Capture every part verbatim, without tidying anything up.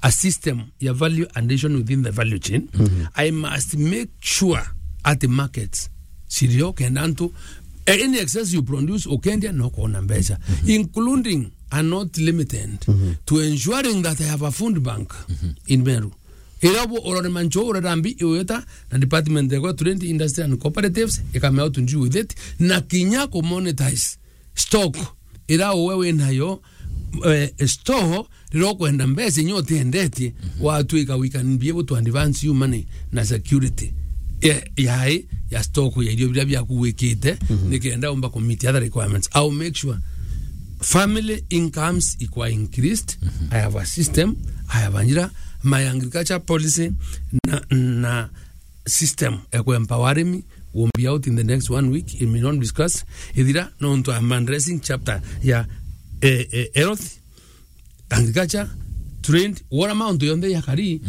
a system ya value addition within the value chain, I must make sure at the markets, cirio kenda antu, eh, any excess you produce, ukendia no kuona mbeca, including and not limited to ensuring that I have a food bank in Meru. Ira bo urore mancho urera mbi iweta na department ya trade, industry and cooperatives, ikamea to deal with it, na kinya ku monetize stock ira uwe winayo, eh, store rira ukwenda mbeca inya utiendetie, watwika we can be able to advance you money na security ya, ya, ya stock ya irio biria biaku wikite, nikenda umba ku meet other requirements. I'll make sure family incomes ikwa increased. I have a system, I have a njira, my agriculture policy na, na system ya ku empower me will be out in the next one week. It may not discuss ithira nontu I'm addressing chapter ya, eh, eh, health, agriculture, trade, what amount yonthe ya kari.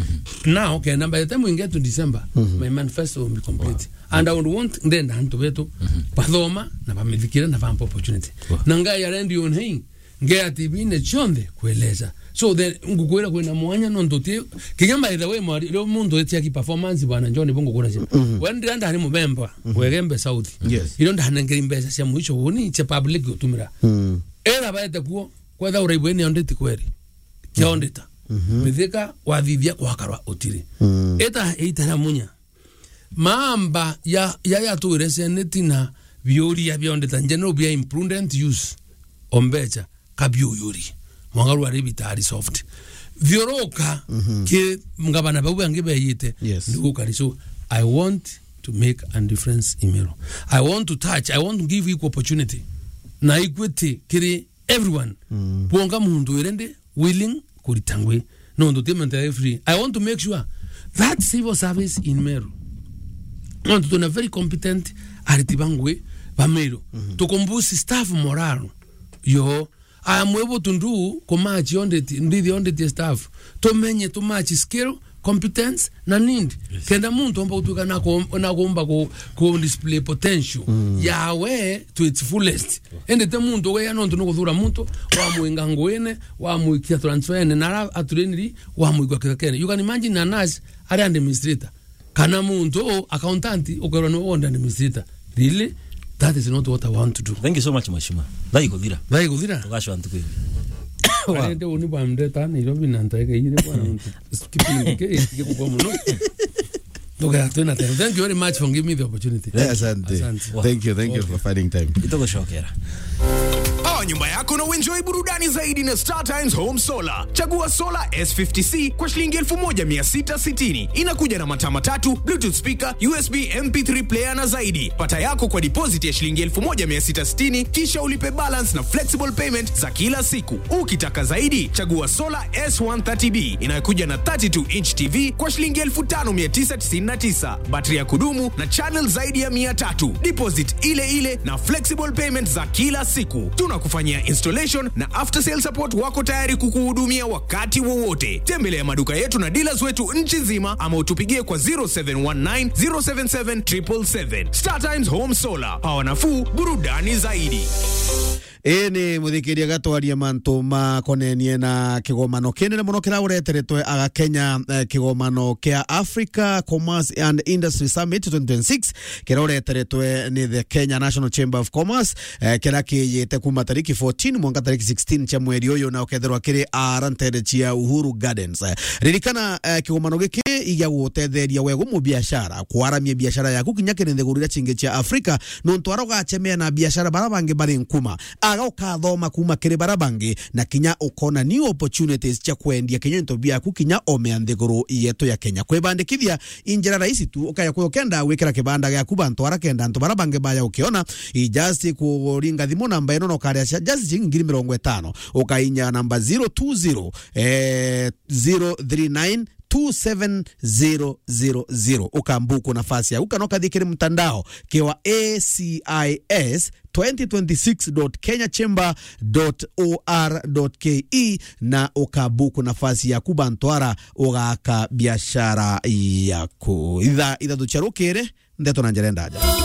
Now kenda by the time we get to December, my manifesto will be complete. And I would want ndenda antu betu bathoma na bamithikire na bampa opportunity. Na ngai arendi on hei, ngea T V-ini cionthe kueleza. So the ngukwira kwina mwanya nontu ti kinya by the way mwari rio muntu eti aki performance bwana John bo ngukura cia. When ndira ndari mubemba Wegembe South. Yes. Iro ndanengeri mbeca cia mwisho woni cia public gutumira. Era baete kuo kwetha uraibu ni audit kweri. Kia auditor. Mithika wathithia kwakarwa utiri. Eta eitara munya. Mamba ya, ya, ya tuire seneti na biuria bia auditor general bia imprudent use o mbeca kabiuyuri. Mwangaru ari bitari soft. Thiuruka ki ngabana bau bangi beyite. Yes. Ndugukari. So I want to make a difference in Meru. I want to touch, I want to give equal opportunity na equity kiri everyone. Bwonga muntu ire ndi willing kurita ngui. Nontu ti muntu ari free. I want to make sure that civil service in Meru, nontu twina very competent ariti ba ngui ba Meru. Tukumbusi staff morale yo. I am able to do kumatch audit, ndithi audit staff. Tumenye tumatch skill, competence na need. Yes. Kenda muntu omba gutuika na ku-, na kumba ku, ku display potential yawe to its fullest. Indi ti muntu ugeya nontu nukuthura muntu, wamwinga nguine, wamwikia transfer ene, na ara atureniri, wamwikwa kithakene. You can imagine a nurse ari administrator. Kana muntu accountant ukerwa ni wonde administrator. Really? That is not what I want to do. Thank you so much, Mheshimiwa. Thaa ikuthira. Thaa ikuthira? Tugacwa ntuku ingi. Arende uni bwa mdeta Nairobi na ntaige ire bwana muntu. Kipindi ke, ke kukwa muno. Tugea twina time. Thank you very much for giving me the opportunity. Yeah, asante. Asante. Thank you, thank you for finding time. Itugucokera. Oa nyumba yako na uenjoy burudani zaidi na Star Times Home Solar. Chagua solar S fifty C kwa shilingi elfu moja mia sita sitini. Inakuja na mataa matatu, Bluetooth speaker, U S B M P three player na zaidi. Pata yako kwa deposit ya shilingi elfu moja mia sita sitini, kisha ulipe balance na flexible payment za kila siku. Ukitaka zaidi, chagua solar S one thirty B inayokuja na thirty-two inch T V kwa shilingi elfu tano mia tisa tisini na tisa. Battery ya kudumu na channel zaidi ya mia tatu. Deposit ile ile na flexible payment za kila siku. Tunakufanyia installation na after sale support wako tayari kukuhudumia wakati wowote. Tembelea maduka yetu na dealers wetu nchi nzima ama utupigie kwa zero seven one nine, zero seven seven, triple seven. Star Times Home Solar. Power nafuu, burudani zaidi. Ii ni muthikiria gatwaria mantu makonenie na kigomano kinene muno kiria ureteretwe aga Kenya, eh, kigomano kia Africa Commerce and Industry Summit twenty twenty-six, kiria ureteretwe ni the Kenya National Chamber of Commerce, eh, kiria kiyite kuma tariki fourteen mwanka tariki sixteen cia mweri uyu, na ukethirwa kiri ara ntere cia Uhuru Gardens. Eh, ririkana, eh, kigomano giki igia gutetheria wegu mubiashara, kwaramia biashara yaku kinya kiri nthiguru iria cingi cia Africa, nontu ara ugachemea na biashara bara bangi bari nkuma, aga ukathoma kuma kiri bara bangi, na kinya ukona new opportunities cia kwendia kinya into biaku kinya omea nthiguru yetu ya Kenya. Kwibandikithia i njira rahisi tu, ukaya kwi ukenda gwikira kibanda giaku bantu ara kenda antu bara bangi baya ukiona, i just kuringa thimu namba ino na ukaria cia just ciringi ngiri mirongo itano, ukainya namba zero two zero, eh, zero three nine two seven zero zero zero. Ukambuku nafasi yaku kana ukathii kiri mtandao kiwa A C I S twenty twenty-six dot kenya chamber dot O R dot K E na ukabuku nafasi yaku bantu ara ugaka biashara yaku. Ithaa ithatu cia rukiri, ndeto na njira ndaja.